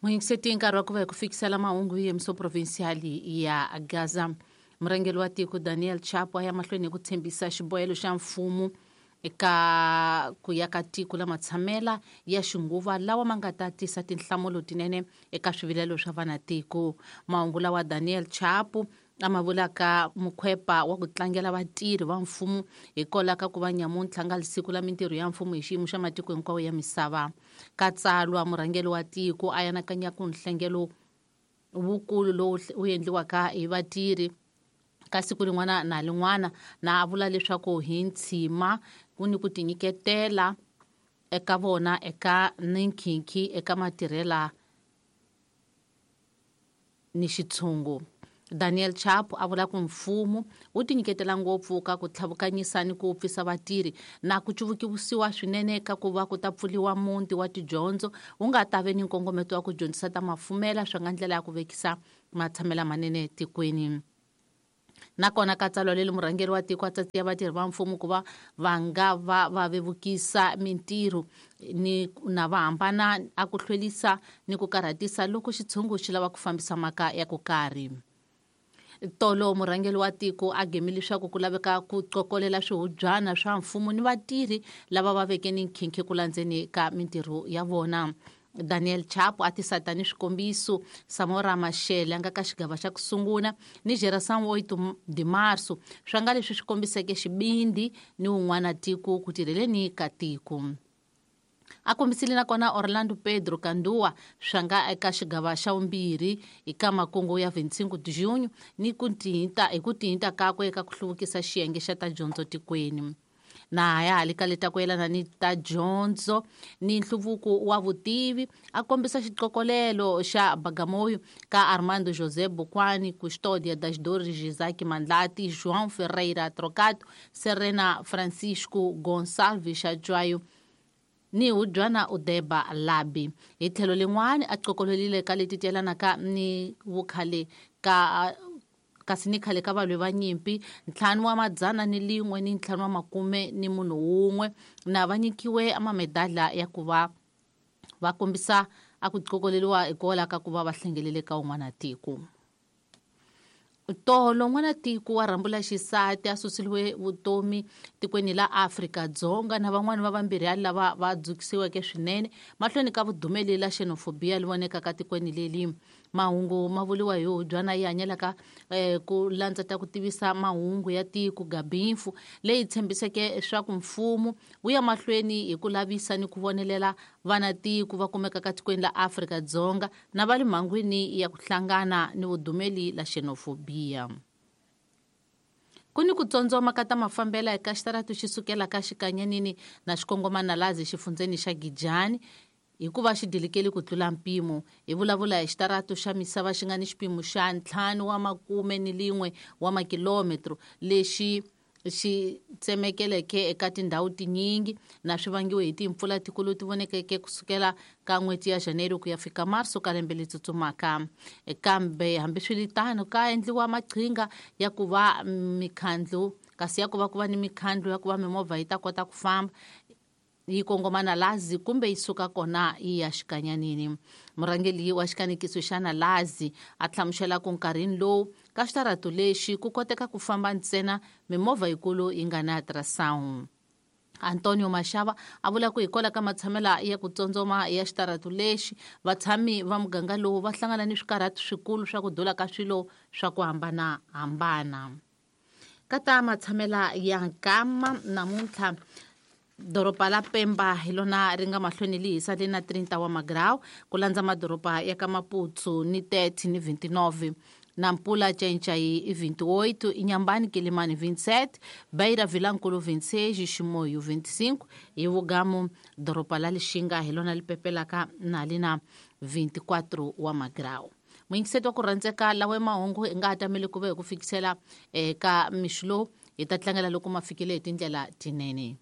Muyingiseti, nkarhi wa ku va hi ku fikisela mahungu hi yemiso provincial ya Gaza. Murhangeri wa tiko Daniel Chapo a ya mahlweni hi ku tshembisa xibohelo xa mfumo eka ku ya ka tiko la matshamela ya xinguva lawa ma nga ta tisa tinhlamulo tinene eka swivilelo swa vanatiko. Mahungu lawa Daniel Chapo a ma vulaka mukhwepa wa ku tlangela vatirhi va mfumo hikwalaho ka ku va nyamuntlha nga siku la mintirho ya mfumo hi xiyimo xa matiko hinkwawo ya misava. Ka tsalwa murhangeri wa tiko a anakanya ku nhlengelo wukulu lowu wu endliwaka hi vatirhi ka siku rin'wana na rin'wana, na a vula leswaku hi ntshima ku ni ku tinyiketela eka vona eka ni nkhinkhi eka matirhela ni xitshungu. Daniel Chapo a vula ku mfumo wu tinyiketela ngopfu ka ku tlhavukanyisa ni ku pfisa vatirhi na ku cuvukisiwa swinene ka ku va ku ta pfuriwa muti wa tidyondzo wu nga ta ve ni nkongometo wa ku dyondzisa ta mafumela swa nga ndlela ya ku vekisa matshamela manene tikweni. Nakona ka tsalwa leri murhangeri wa tiko a tsatsiya vatirhi va mfumo ku va va nga va va vevukisa mintirho ni na va hambana a ku hlwerisa ni ku karhatisa loko xitshungu xi lava ku fambisa mhaka ya ku karhi. Tolo murhangeri wa tiko a gemi leswaku ku laveka ku qokolela swihubyana swa mfumo ni vatirhi lava va veke ni nkhinkhi ku landzeni ka mintirho ya vona. Daniel Chapo a tisa tani swikombiso Samora Machel a nga ka xigava xa ku sungula ni Geração 8 de Março swa nga leswi swi kombiseke xibindi ni wun'wana tiko ku tirheleni ka tiko. A kombisile nakona Orlando Pedro Kandua swa nga eka xigava xa vumbirhi eka makungu ya 25 de junho ni ku tihinta hi ku tihinta kakwe eka ku hluvukisa xiyenge xa ta dyondzo tikweni. Na ya ha le ka leta ku yelana ni ta dyondzo ni nhluvuko wa vutivi a kombisa xiqokolelo xa Bagamoyo ka Armando José Bokwani, Custódia das Dores Isaac Mandlati, João Ferreira Trocato, Serena Francisco Gonçalves Xajwayo ni Hudywana Udeba Labi. Hi tlhelo lin'wana a qokolelile ka leti ti yelanaka ni vukhale ka kasi ni khale ka valwi va nyimpi 551 na va nyikiwe amamedala ya ku va va kombisa a ku qokoleriwa hikwalaho ka ku va va hlengelele ka un'wana tiko. Tolo n'wana tiko wa rhambula xisati a susiliwe vutomi tikweni la Afrika-Dzonga na van'wani va vambirhi lava va dzukisiweke swinene mahlweni ka vudumeli la xenophobia li vonekaka tikweni leli. Mahungu ma vuriwa hi hubyana yi hanyelaka ku landza ta ku tivisa mahungu ya tiko Gabinfu leyi tshembiseke swa ku mfumo wu ya mahlweni hi ku lavisa ni ku vonelela vana tiko va kumekaka tikweni la Afrika-Dzonga na va le mhangwini ya ku hlangana ni vudumeli la xenophobia. Ku ni ku tsondzoma ka ta mafambela eka xitaratu xi sukela ka xikanyanini na xikongomana lazi xifundzeni xa Gijani hikuva xi dilikeli ku tlula mpimo. Hi vulavula hi xitaratu xa misava xi nga ni xipimo xa 51 wa makilometro lexi xi tsemekeleke eka tindhawu tinyingi na swi vangiwe hi timpfula tikulu ti vonekeke kusukela ka n'hweti ya Janeiro ku ya fika Marso ka lembe leri tsutsumaka. Kambe hambiswiritano ka endliwa maqhinga ya ku va mikhandlu kasi ya ku va ku va ni mikhandlu ya ku va mimovha yi ta kota ku famba yi kongoma na Lazi kumbe yi suka kona yi ya xikanyanini. Murhangeri wa xikanekiso xa Nalazi a hlamusela ku nkarhini lowu ka xitaratu lexi ku koteka ku famba ntsena mimovha yikulu yi nga na ultrasound. Antonio Mashava a vula ku hikwalaho ka matshamela ya ku tsondzoma ya xitaratu lexi vatshami va muganga lowu va hlangana ni swikarhati swikulu swa ku dula ka swilo swa ku hambanahambana. Ka ta matshamela ya nkama namuntlha doroba la Pemba hi lona ri nga mahlweni li hisa li na 30 wa magrawu ku landza madoroba ya ka Maputo ni 30 ni 29, Nampula Cencai i 28, Inhambane Quelimane 27, Beira Vilankulu 26, Chimoio 25, hi Vugamu doroba la Lixinga hi lona li pepelaka na li na 24 wa magrawu. Muyingiseti wa ku rhandzeka lawa mahungu hi nga ha tameli ku ve hi ku fikisela eka mixo lowu hi ta tlangela loko ma fikile hi tindlela tinene.